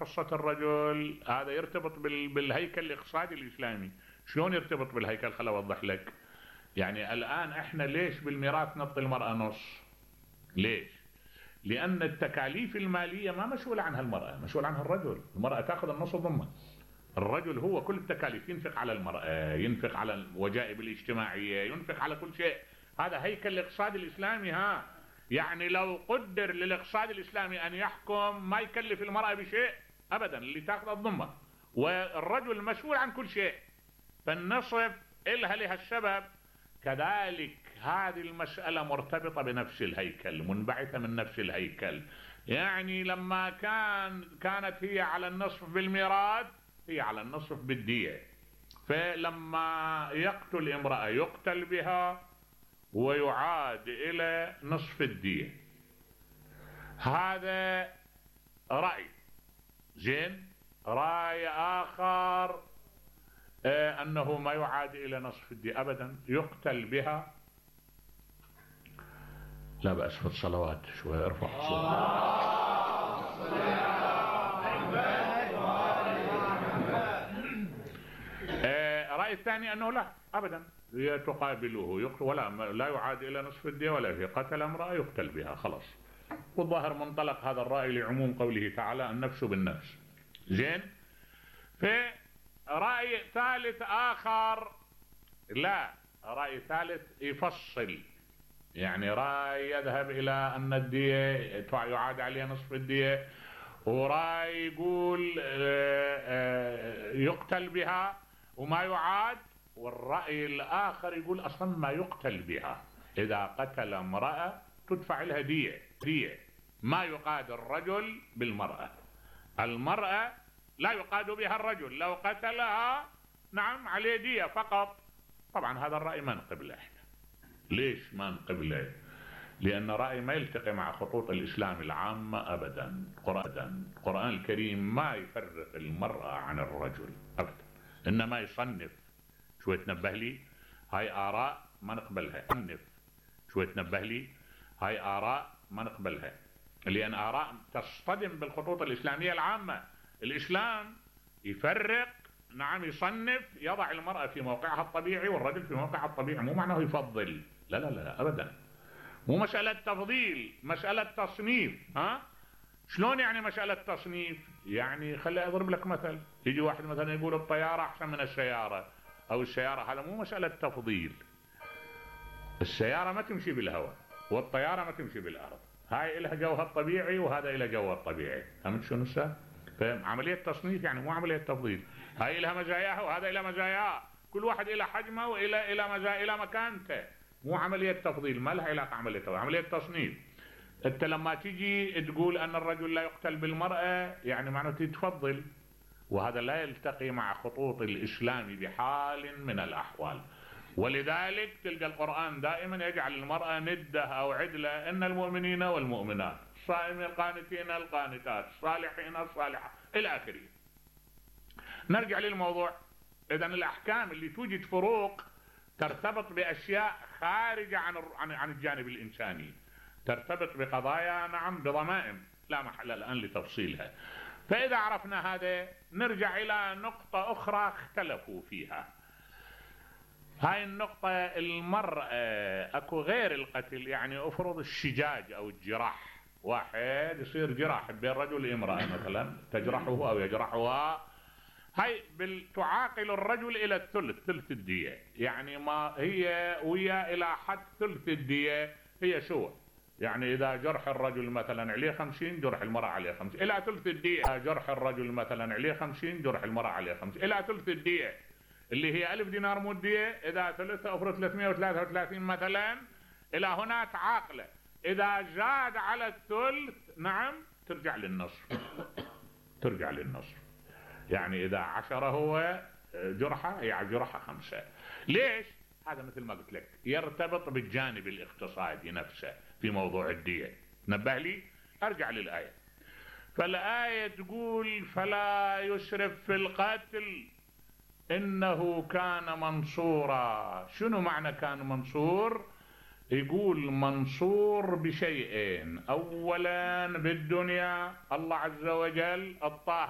قصة الرجل هذا يرتبط بالهيكل الاقتصادي الإسلامي. شلون يرتبط بالهيكل؟ خل أوضح لك. يعني الآن احنا ليش بالميراث نعطي المرأة نص؟ ليش؟ لأن التكاليف المالية ما مسؤولة عنها المرأة، مسؤول عنها الرجل. المرأة تأخذ النص ضمن. الرجل هو كل التكاليف، ينفق على المرأة، ينفق على الوجائب الاجتماعية، ينفق على كل شيء. هذا هيكل الاقتصاد الإسلامي. يعني لو قدر للاقتصاد الإسلامي أن يحكم ما يكلف المرأة بشيء أبدا، اللي تأخذ الضمة، والرجل مسؤول عن كل شيء. فالنصف إلها لهالسبب. كذلك هذه المسألة مرتبطة بنفس الهيكل، منبعثة من نفس الهيكل. يعني لما كانت هي على النصف بالميراث، هي على النصف بالدية. فلما يقتل امرأة يقتل بها ويعاد إلى نصف الدية. هذا رأي زين. رأي آخر أنه ما يعاد إلى نصف الدية أبدا، يقتل بها. لا بأس في الصلوات شوي، ارفع رأي الثاني أنه لا أبدا، هي تقابله يقتل، ولا لا يعاد إلى نصف الدية، ولا في قتل امرأة يقتل بها خلاص. والظاهر منطلق هذا الرأي لعموم قوله تعالى النفس بالنفس. زين. في رأي ثالث آخر، لا، رأي ثالث يفصل. يعني رأي يذهب إلى أن الدية يعاد عليها نصف الدية، ورأي يقول يقتل بها وما يعاد، والرأي الآخر يقول أصلا ما يقتل بها. إذا قتل امرأة تدفع لها دية، ما يقاد الرجل بالمرأة. المرأة لا يقاد بها الرجل، لو قتلها نعم عليه دية فقط. طبعا هذا الرأي ما نقبله احنا. ليش ما نقبله؟ لأن رأي ما يلتقي مع خطوط الإسلام العامة أبدا. القرآن الكريم ما يفرق المرأة عن الرجل أبدا، إنما يصنف. شوي تنبه لي، هاي آراء ما نقبلها. صنف. شوي تنبه لي، هاي آراء ما نقبلها، لأن آراء تصطدم بالخطوط الإسلامية العامة. الإسلام يفرق، نعم، يصنف، يضع المرأة في موقعها الطبيعي والرجل في موقعها الطبيعي. مو معناه يفضل، لا لا لا أبدا. مو مسألة تفضيل، مسألة تصنيف. شلون يعني مسألة تصنيف؟ يعني خلي أضرب لك مثل. يجي واحد مثلا يقول الطيارة أحسن من السيارة أو السيارة، هذا مو مسألة تفضيل. السيارة ما تمشي بالهواء والطيارة ما تمشي بالأرض. هاي إلها جوها الطبيعي وهذا إلها جوها الطبيعي. فهمت شنو هسه؟ فهم عملية تصنيف، يعني مو عملية تفضيل. هاي إلها مزاياها وهذا إلها مزاياه، كل واحد إلى حجمه وإلى مزايا إلى مكانته. مو عملية تفضيل، ما لها علاقة عملية تفضيل، عملية تصنيف. أنت لما تيجي تقول أن الرجل لا يقتل بالمرأة يعني معناته تفضل، وهذا لا يلتقي مع خطوط الإسلام بحال من الأحوال. ولذلك تلقى القرآن دائما يجعل المرأة ندة أو عدلة. إن المؤمنين والمؤمنات، الصائمين القانتين القانتات، الصالحين الصالحات، إلى آخره. نرجع للموضوع. إذن الأحكام اللي توجد فروق ترتبط بأشياء خارجة عن الجانب الإنساني، ترتبط بقضايا نعم بضمائم لا محل الآن لتفصيلها. فإذا عرفنا هذا نرجع إلى نقطة أخرى اختلفوا فيها. هاي النقطة، المرأة أكو غير القتل، يعني أفرض الشجاج أو الجراح، واحد يصير جراح بين رجل وامرأة مثلا، تجرحه أو يجرحها، هاي تعاقل الرجل إلى الثلث، ثلث الدية. يعني ما هي ويا إلى حد ثلث الدية هي سوى. يعني إذا جرح الرجل مثلا عليه 50، جرح المرأة عليه 50 إلى ثلث الدية. إذا جرح الرجل مثلا عليه 50، جرح المرأة عليه 50 إلى ثلث الدية، اللي هي 1000 دينار مدية. إذا ثلثة أفرض 333 مثلا، إلى هنا تعاقله. إذا زاد على الثلث نعم ترجع للنصف، ترجع للنصف. يعني إذا 10 هو جرحة، هي جرحة 5. ليش؟ هذا مثل ما قلت لك يرتبط بالجانب الاقتصادي نفسه في موضوع الدية. نبه لي، أرجع للآية. فالآية تقول فلا يسرف في القتل إنه كان منصورا. شنو معنى كان منصور؟ يقول منصور بشيئين. أولا بالدنيا الله عز وجل الطاهر